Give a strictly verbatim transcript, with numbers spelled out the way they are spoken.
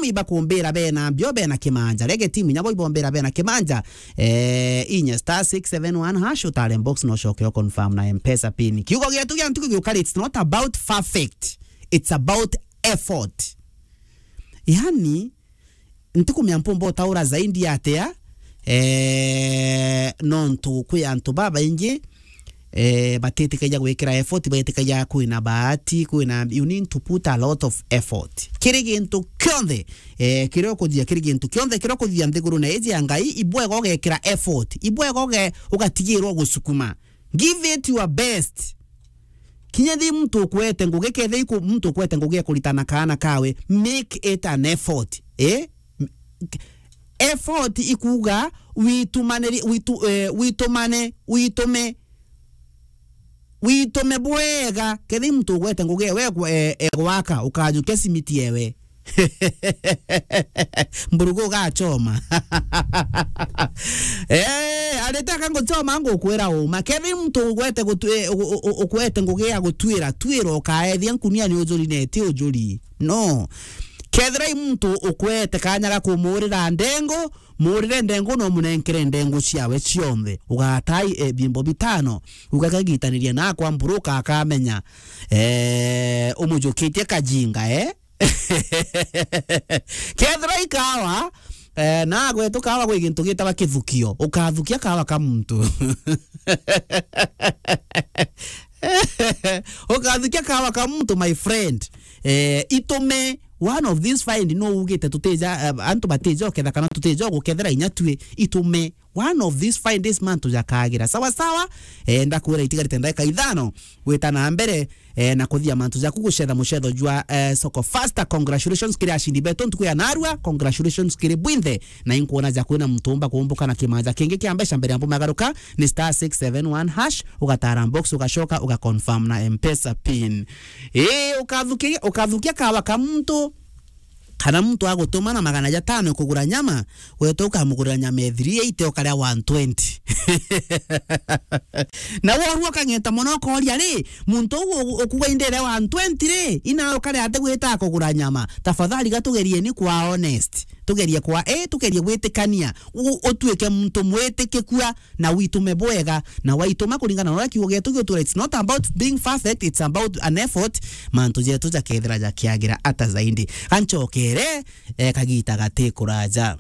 ibakumbira bena mbio, bena kimanja. Rege timu inya bo ibombira bena kimanja. Eh, inya star six seven one hash, utare box, no coke o confirm na M-Pesa pin. Kiugo gietu gia ntuku giukari, it's not about perfect. It's about effort. Yani, ntikumenya mpumba utaura zaidi atia, eh, nontu kwi antu babaingi, eh, batitikagia gwikira effort, baitikagia kwina bahati, kwina, you need to put a lot of effort. Kiri gintu kionthe, eh, kiria ukuthia, kiri gintu kionthe kiria ukuthia nthigurune iji ya Ngai, ibwega ugekira effort, ibwega uge-, ugatigirwa gusukuma. Give it your best. Kinya thi muntu ukwete ngugi, kethira iku-, muntu ukwete ngugi ya kuritana kaana kawe, make it an effort. Eh? M-, effort ikuuga witumaniri-, witu-, eh, witumane, witume, witume bwega. Kethira muntu ugwete ngugi ewe egw-, eh, egwaka, ukajukia simiti ewe. Mburugu ugachoma. Eh, aritaka nguchoma ngukwira uma. Kethira muntu ugwete gutu-, eh, u-, u-, u-, ukwete ngugi ya gutwira, twira ukaethia nkunia ni ujuri na iti ujuri. No. Kethira i muntu ukwete kanya ga kumurira ndengo, murire ndengo na umunenkere ndengo ciawe cionthe. Ugatai, eh, bimbo bitano. Ugakagitaniria nakwa mburuka akamenya. Eh, umujukitie kajinga, eh? Kethira i kawa, eh, na gwetu kawa gwi gintu gitagwa kithukio. Ukathukia kawa ka muntu. Ukathukia kawa ka muntu, my friend. Eh, itume, one of these fine, no ugite tutija, eh, antu batija uketha kana tutija gukethera inya tui, itume. One of these fine days mantu jakagira. Sawa sawa, eh, ndakwira itigarite ndagika ithano gwita na mbere, eh, na kuthia mantu jaku gucetha mucetho jwa, eh, Soko Faster. Congratulations kiri ashindi betu ntuku ya narua. Congratulations kiri bwinthe. Na inkuona ja kwina muntu umba kumbuka na kimanja kingi kia mbeca mbere ya mbu magaruka ni star six seven one hash, ugatara box, ugacoka, ugaconfirm na M-Pesa pin. Ii, ukathukia, ukathukia kawa ka muntu, kana muntu agutuma na magana jatano kugura nyama, wete ukamugurira nyama ya three eighty, ukaria one twenty. Na woru ukang'eta mono, ukoria, ri, muntu uu u-, ukuga indire one twenty ri, ina ukaria ati gwita kugura nyama? Tafadhali gatugerieni kwa honest. Tugerie kwa, eh, tugerie gwitikania. U-, utuike muntu mwitikikua na witume bwega, na waituma kuringana na uria kiugo gietu giutura. It's not about being perfect, it's about an effort. Mantu jetu jakethira jakiagira ata zaidi. Gancokere, eh, kagita gati kuraja.